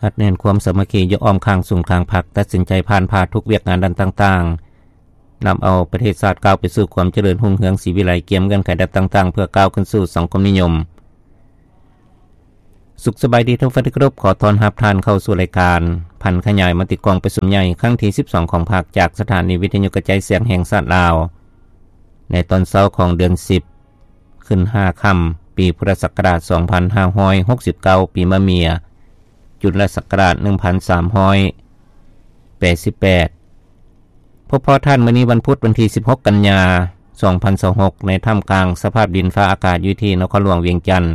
ຮັດແໜ້ນຄວາມສາມັກຄີຢູ່ອ້ອມຂ້າງສູນກາງພັກ ຕັດສິນໃຈຜ່ານຜ່າທຸກວຽກງານດ້ານຕ່າງໆ ນຳເອົາປະເທດຊາດກ້າວໄປສູ່ຄວາມຈະເລີນຮຸ່ງເຮືອງສີວິໄລ ກຽມເງື່ອນໄຂດ້ານຕ່າງໆ ເພື່ອກ້າວຂຶ້ນສູ່ສັງຄົມນິຍົມ. ສຸກສະບາຍດີທ່ານຜູ້ຟັງທີ່ເຄົາລົບ, ຂໍຕ້ອນຮັບທ່ານເຂົ້າສູ່ລາຍການຜັນຂະຫຍາຍມະຕິກອງປະຊຸມໃຫຍ່ຄັ້ງທີສິບສອງຂອງພັກ ຈາກສະຖານີວິທະຍຸກະຈາຍສຽງແຫ່ງຊາດລາວ ໃນຕອນເຊົ້າຂອງເດືອນສິບ ຂຶ້ນຫ້າຄ່ຳ ປີພຸດທະສັກກະລາດສອງພັນຫ້າຮ້ອຍຫົກສິບເກົ້າ ປີມະເມຍ ຈຸລະສັກກະລາດໜຶ່ງພັນສາມຮ້ອຍແປດສິບແປດ. ພົບພໍ້ທ່ານ ມື້ນີ້ວັນພຸດ ວັນທີສິບຫົກ ກັນຍາ ສອງພັນຊາວຫົກ ໃນທ່າມກາງສະພາບດິນຟ້າອາກາດຢູ່ທີ່ນະຄອນຫຼວງວຽງຈັນ.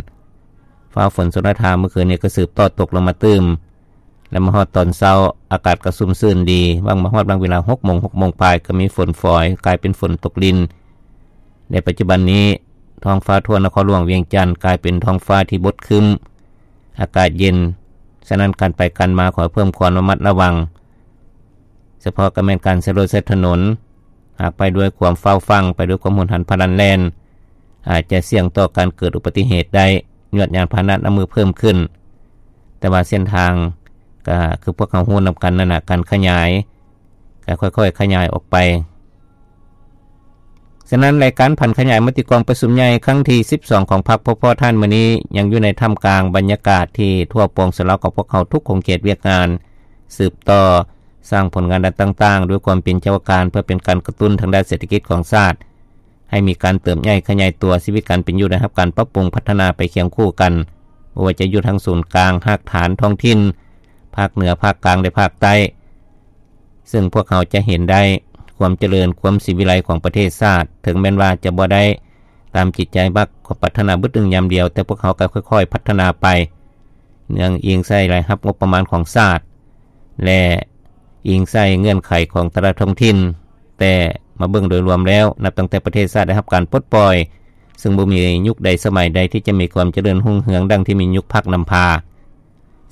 ຟ້າຝົນຊົນລະທາມື້ຄືນນີ້ກໍສືບຕໍ່ຕົກລົງມາຕື່ມ ແລະ ມາຮອດຕອນເຊົ້າ ອາກາດກໍຊຸ່ມຊື່ນດີ. ຫວ່າງມາຮອດຫວ່າງເວລາຫົກໂມງ ຫົກໂມງປາຍ ກໍມີຝົນຝອຍ ກາຍເປັນຝົນຕົກລິນ. ໃນປັດຈຸບັນນີ້ ທ້ອງຟ້າທົ່ວນະຄອນຫຼວງວຽງຈັນ ກາຍເປັນທ້ອງຟ້າທີ່ບົດຄຶ້ມ ອາກາດເຢັນ, ສະນັ້ນການໄປການມາຂໍໃຫ້ເພີ່ມຄວາມລະມັດລະວັງ, ສະເພາະກໍແມ່ນການໃຊ້ລົດໃຊ້ຖະໜົນ. ຫາກໄປດ້ວຍຄວາມຟ້າວຟັ່ງ, ໄປດ້ວຍຄວາມຮຸນແຮງພະລັນແລ່ນ, ອາດຈະສ່ຽງຕໍ່ການເກີດອຸບັດຕິເຫດໄດ້ ຍວດຍານພາຫະນະນຳມືເພີ່ມຂຶ້ນ. ແຕ່ວ່າເສັ້ນທາງກໍຄືພວກເຮົາຮູ້ນຳກັນນັ້ນນະ, ການຂະຫຍາຍກໍຄ່ອຍໆຂະຫຍາຍອອກໄປ. ສະນັ້ນ ລາຍການຜັນຂະຫຍາຍມະຕິກອງປະຊຸມໃຫຍ່ຄັ້ງທີສິບສອງຂອງພັກ ພົບພໍ້ທ່ານ ມື້ນີ້ ຍັງຢູ່ໃນທ່າມກາງບັນຍາກາດທີ່ທົ່ວປວງຊົນລາວຂອງພວກເຮົາທຸກຂົງເຂດວຽກງານ ສືບຕໍ່ ສ້າງຜົນງານດ້ານຕ່າງໆ ດ້ວຍຄວາມເປັນເຈົ້າການ ເພື່ອເປັນການກະຕຸ້ນທາງດ້ານເສດຖະກິດຂອງຊາດ ໃຫ້ມີການເຕີບໃຫຍ່ຂະຫຍາຍຕົວ, ຊີວິດການເປັນຢູ່ໄດ້ຮັບການປັບປຸງພັດທະນາໄປຄຽງຄູ່ກັນ, ບໍ່ວ່າຈະຢູ່ທາງສູນກາງ, ຮາກຖານທ້ອງຖິ່ນ, ພາກເໜືອ, ພາກກາງ ແລະ ພາກໃຕ້. ເຊິ່ງພວກເຮົາຈະເຫັນໄດ້ຄວາມຈະເລີນ, ຄວາມສີວິໄລຂອງປະເທດຊາດ, ເຖິງແມ່ນວ່າຈະບໍ່ໄດ້ຕາມຈິດໃຈມັກຄວາມປາດຖະໜາບຶດໜຶ່ງຍາມດຽວ, ແຕ່ພວກເຮົາກໍຄ່ອຍໆພັດທະນາໄປ ເນື່ອງອີງໃສ່ລາຍຮັບງົບປະມານຂອງຊາດ ແລະ ອີງໃສ່ເງື່ອນໄຂຂອງແຕ່ລະທ້ອງຖິ່ນ. ແຕ່ມາເບິ່ງໂດຍລວມແລ້ວ, ນັບຕັ້ງແຕ່ປະເທດຊາດໄດ້ຮັບການປົດປ່ອຍ, ເຊິ່ງບໍ່ມີຍຸກໃດສະໄໝໃດທີ່ຈະມີຄວາມຈະເລີນຮຸ່ງເຮືອງດັ່ງທີ່ມີຍຸກພັກນຳພາ.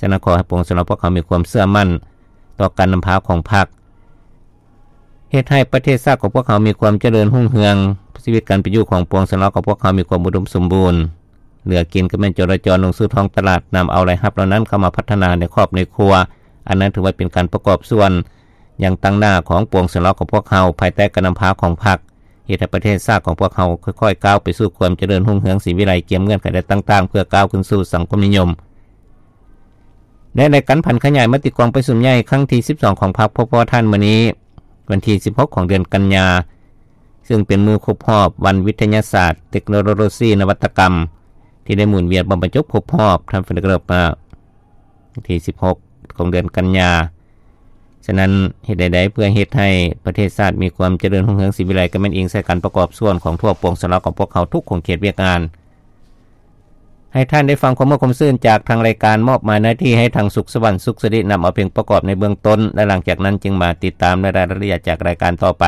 ສະນັ້ນ ຂໍໃຫ້ປວງຊົນລາວພວກເຮົາມີຄວາມເຊື່ອໝັ້ນຕໍ່ການນຳພາຂອງພັກ, ເຮັດໃຫ້ປະເທດຊາດຂອງພວກເຮົາມີຄວາມຈະເລີນຮຸ່ງເຮືອງ, ຊີວິດການເປັນຢູ່ຂອງປວງຊົນລາວຂອງພວກເຮົາມີຄວາມອຸດົມສົມບູນ. ເຫຼືອກິນກໍແມ່ນຈໍລະຈອນລົງສູ່ທ້ອງຕະຫຼາດ, ນຳເອົາລາຍຮັບເຫຼົ່ານັ້ນເຂົ້າມາພັດທະນາໃນຄອບໃນຄົວ, ອັນນັ້ນຖືວ່າເປັນການປະກອບສ່ວນຢ່າງຕັ້ງໜ້າຂອງປວງຊົນລາວຂອງພວກເຮົາ ພາຍໃຕ້ການນຳພາຂອງພັກ, ເຮັດໃຫ້ປະເທດຊາດຂອງພວກເຮົາຄ່ອຍໆກ້າວໄປສູ່ຄວາມຈະເລີນຮຸ່ງເຮືອງສີວິໄລ ກຽມເງື່ອນໄຂດ້ານຕ່າງໆ ເພື່ອກ້າວຂຶ້ນສູ່ສັງຄົມນິຍົມ. ແລະ ໃນການຜັນຂະຫຍາຍມະຕິກອງປະຊຸມໃຫຍ່ຄັ້ງທີສິບສອງຂອງພັກ ພົບພໍ້ທ່ານ ມື້ນີ້ ວັນທີສິບຫົກຂອງເດືອນກັນຍາ, ເຊິ່ງເປັນມື້ຄົບຮອບວັນວິທະຍາສາດ, ເຕັກໂນໂລຊີ, ນະວັດຕະກຳ ທີ່ໄດ້ໝູນວຽນບັນຈົບຄົບຮອບ, ທ່ານເຟເດເກີບ ວັນທີສິບຫົກຂອງເດືອນກັນຍາ. ສະນັ້ນ ເຮັດໃດໆເພື່ອເຮັດໃຫ້ປະເທດຊາດມີຄວາມຈະເລີນຮຸ່ງເຮືອງສີວິໄລ ກໍແມ່ນອີງໃສ່ການປະກອບສ່ວນຂອງທົ່ວປວງຊົນລາວຂອງພວກເຮົາທຸກຂົງເຂດວຽກງານ. ໃຫ້ທ່ານໄດ້ຟັງຄວາມມ່ວນຄວາມຊື່ນຈາກທາງລາຍການ, ມອບໝາຍໜ້າທີ່ໃຫ້ທາງສຸກສະຫວັນ ສຸກສະລິ ນຳເອົາເປັນປະກອບໃນເບື້ອງຕົ້ນ ແລະ ຫຼັງຈາກນັ້ນຈຶ່ງມາຕິດຕາມລາຍລະອຽດຈາກລາຍການຕໍ່ໄປ.